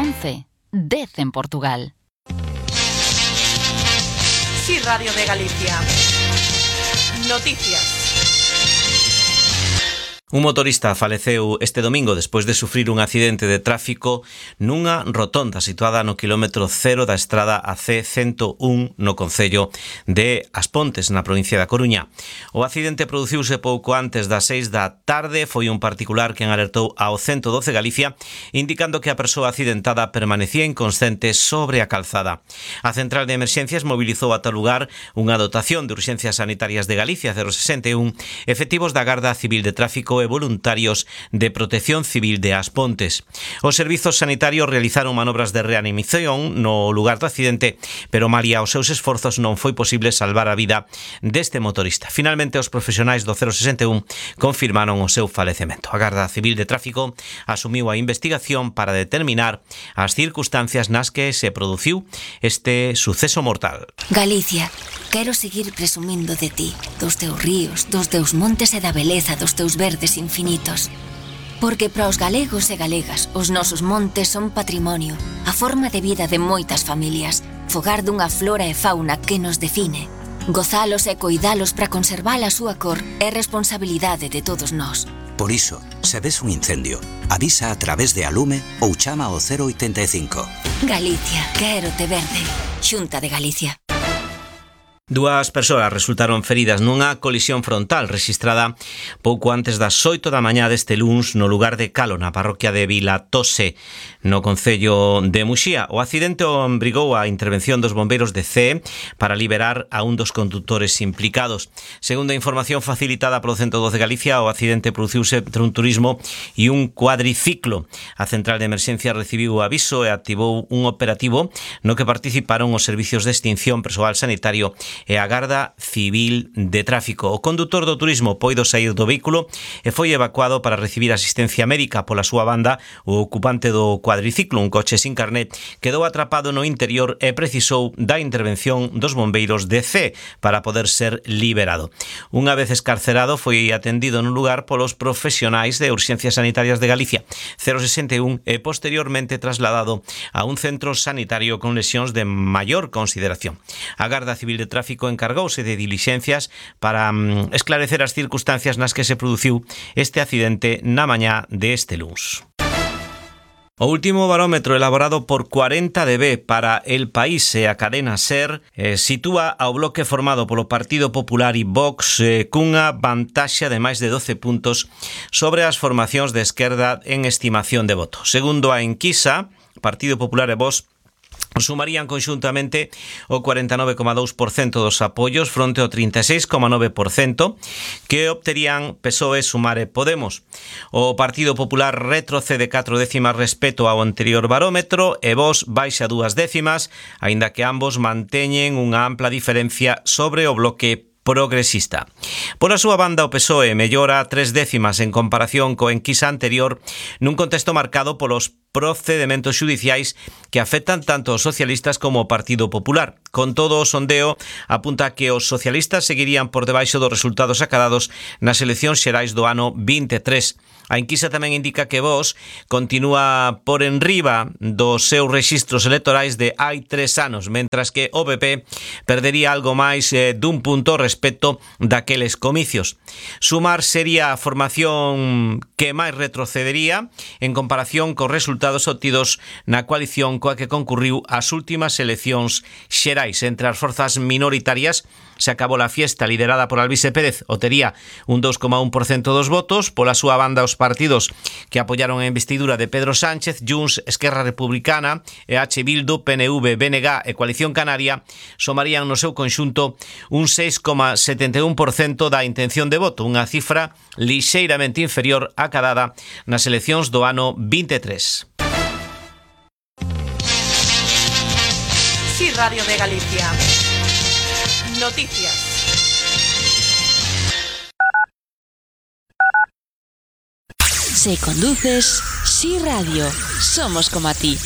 11, 10 en Portugal. Sí, Radio de Galicia. Noticias. Un motorista faleceu este domingo despois de sufrir un accidente de tráfico nunha rotonda situada no quilómetro 0 da estrada AC101 no concello de As Pontes, na provincia da Coruña. O accidente produciuse pouco antes das 6 da tarde. Foi un particular quen alertou ao 112 Galicia, indicando que a persoa accidentada permanecía inconsciente sobre a calzada. A central de emerxencias mobilizou ata o lugar unha dotación de urxencias sanitarias de Galicia 061, efectivos da Garda Civil de Tráfico e voluntarios de Protección Civil de As Pontes. Os servizos sanitarios realizaron manobras de reanimación no lugar do accidente, pero malia os seus esforzos non foi posible salvar a vida deste motorista. Finalmente, os profesionais do 061 confirmaron o seu falecemento. A Garda Civil de Tráfico asumiu a investigación para determinar as circunstancias nas que se produciu este suceso mortal. Galicia, quero seguir presumindo de ti, dos teus ríos, dos teus montes e da beleza dos teus verdes infinitos. Porque para os galegos e galegas, os nosos montes son patrimonio, a forma de vida de moitas familias, fogar dunha flora e fauna que nos define. Gozalos e coidalos para conservar a súa cor é responsabilidade de todos nós. Por iso, se ves un incendio, avisa a través de Alume ou chama ao 085. Galicia, quérote verde. Xunta de Galicia. Dúas persoas resultaron feridas nunha colisión frontal rexistrada pouco antes das 8 da mañá deste luns no lugar de Calo, na parroquia de Vilatose, no concello de Muxía. O accidente obrigou a intervención dos bombeiros de CEE para liberar a un dos condutores implicados. Segundo a información facilitada polo 112 Galicia, o accidente produciuse entre un turismo e un cuadriciclo. A central de emerxencia recibiu o aviso e activou un operativo no que participaron os servicios de extinción, persoal sanitario e a Garda Civil de Tráfico. O condutor do turismo poido saír do vehículo e foi evacuado para recibir asistencia médica. Pola súa banda, o ocupante do cuadriciclo, un coche sin carnet, quedou atrapado no interior e precisou da intervención dos bombeiros de C para poder ser liberado. Unha vez escarcerado, foi atendido no lugar polos profesionais de Urxencias Sanitarias de Galicia 061 e posteriormente trasladado a un centro sanitario con lesións de maior consideración. A Garda Civil de Tráfico encargouse de dilixencias para esclarecer as circunstancias nas que se produciu este accidente na mañá deste luns. O último barómetro elaborado por 40DB para El País e a cadena SER sitúa ao bloque formado polo Partido Popular e Vox cunha vantaxe de máis de 12 puntos sobre as formacións de esquerda en estimación de voto. Segundo a enquisa, Partido Popular e Vox sumarían conxuntamente o 49,2% dos apoios fronte ao 36,9% que obterían PSOE, Sumar e Podemos. O Partido Popular retrocede 4 décimas respecto ao anterior barómetro e Vox baixa 2 décimas, aínda que ambos manteñen unha ampla diferencia sobre o bloque progresista. Por a súa banda, o PSOE mellora 3 décimas en comparación coa enquisa anterior nun contexto marcado polos procedementos xudiciais que afectan tanto os socialistas como o Partido Popular. Con todo, o sondeo apunta que os socialistas seguirían por debaixo dos resultados acadados nas eleccións xerais do ano 23. A enquisa tamén indica que Vox continúa por enriba dos seus rexistros electorais de hai 3 anos, mentras que o PP perdería algo máis dun punto respecto daqueles comicios. Sumar sería a formación que máis retrocedería en comparación cos resultados obtidos na coalición coa que concurriu as últimas eleccións xerais. Entre as forzas minoritarias se acabou a fiesta liderada por Alvise Pérez, obtería un 2,1% dos votos. Pola súa banda, os partidos que apoyaron a investidura de Pedro Sánchez, Junts, Esquerra Republicana, EH Bildu, PNV, BNG e Coalición Canaria somarían no seu conxunto un 6,71% da intención de voto, unha cifra lixeiramente inferior á acadada nas eleccións do ano 23. Sí, Radio de Galicia. Noticias. Si conduces, Sí Radio, somos como a ti.